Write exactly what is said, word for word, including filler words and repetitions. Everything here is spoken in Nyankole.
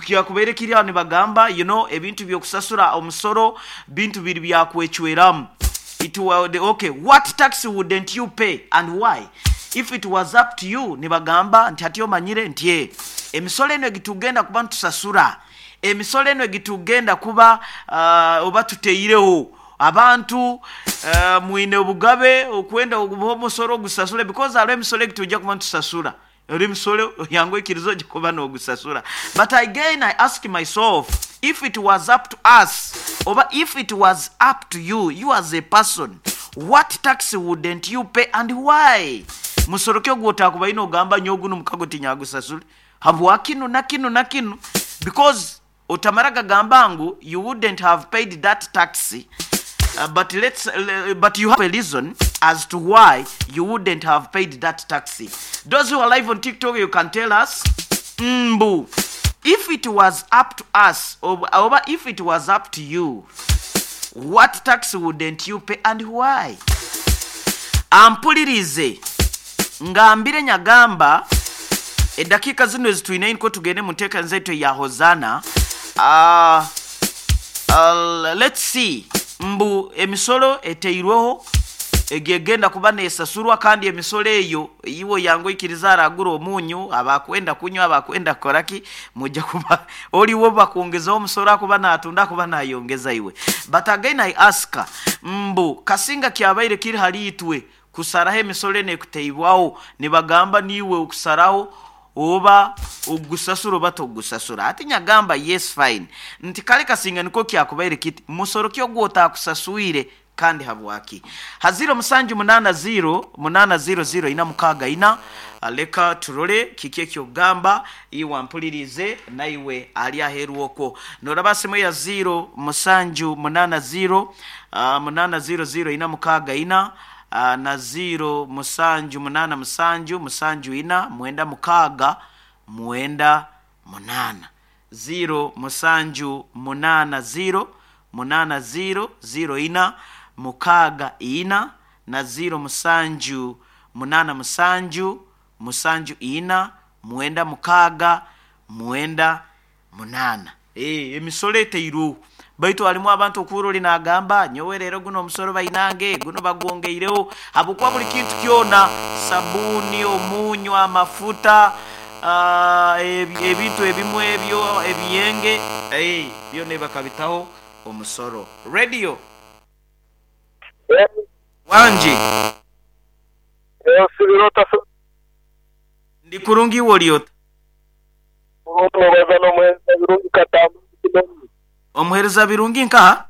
Kyakubaire kiri aho nibagamba, you know, ebintu by'okusasura omusoro bintu biri byakwecweramu. It wa, okay, what tax wouldn't you pay and why if it was up to you? Nibagamba nti hati omanyire nti eh, emisolo eno egitugenda kuba ntusasura, emisolo eno egitugenda kuba uh, oba tuteireho abantu, uh, mwine obugabe okwenda ogubaho omusoro ogusasule, because hariho emisolo egitujja kuba ntusasura, ori emisolo yangu ekirizo gikuba n'ogusasura. But again I ask myself, if it was up to us, oba if it was up to you, you as a person, what tax wouldn't you pay and why? Musoro ki ogwotakubaine ogamba nyowe guno mukago tinyagusasule habwa kinu na kinu na kinu? Because otamara gagamba ngu you wouldn't have paid that tax, uh, but let's uh, but you have a reason as to why you wouldn't have paid that tax. Those who are live on TikTok, you can tell us, mbu if it was up to us, oba, oba if it was up to you, what tax wouldn't you pay and why? Ampulirize ngambire nyagamba edakiika zino ezitwine niko tugende mu nteekaniza yaitu eya Hosanna. uh, uh, let's see, mbu emisolo eteirweho egegenda kuba nesasurwa, kandi emisolo eyo iwe yangu ikiriza aragura omunyu, abakwenda kunywa, abakwenda kukoraki, mujja kuba oliwo bakwongezaho omusolo, akuba natunda akuba nayongeza iwe. But again I ask, mbu kasinga kyabaire kiri hali itwe kusaraho emisolo eno ekuteibwaho, nibagamba niiwe okusaraho oba ogusasura oba togusasura. Ati nyagamba yes, fine, nti kale kasinga niko kyakubaire kiti, musoro ki ogwotakusaswire kandi habwaki? Haziro musanju munana ziro munana ziro ziro ina mukaga ina. Leka turole kiki ekyogamba iwe mpulirize naiwe ali aheru okwo. Noraba simu ya ziro musanju munana ziro uh, munana ziro ziro ina mukaga ina, uh, na ziro musanju munana musanju musanju ina mwenda mukaga mwenda munana. Ziro musanju munana ziro munana ziro ziro ina mukaga ina na ziro musanju munana musanju musanju ina mwenda mukaga mwenda munana. Eh, emisolo eteirweho, baitu harimu abantu okuhurira nagamba nyowe rero guno omusoro bainange guno bagwongeireho, habwokuba buli kintu kyona, sabuni, omunyu, amafuta, uh, ebintu ebimwe ebyo ebiyenge, eh, byona bakabitaho omusoro. Radio wanje ndi kurungi iwe oliota omuhereza birungi nkaha?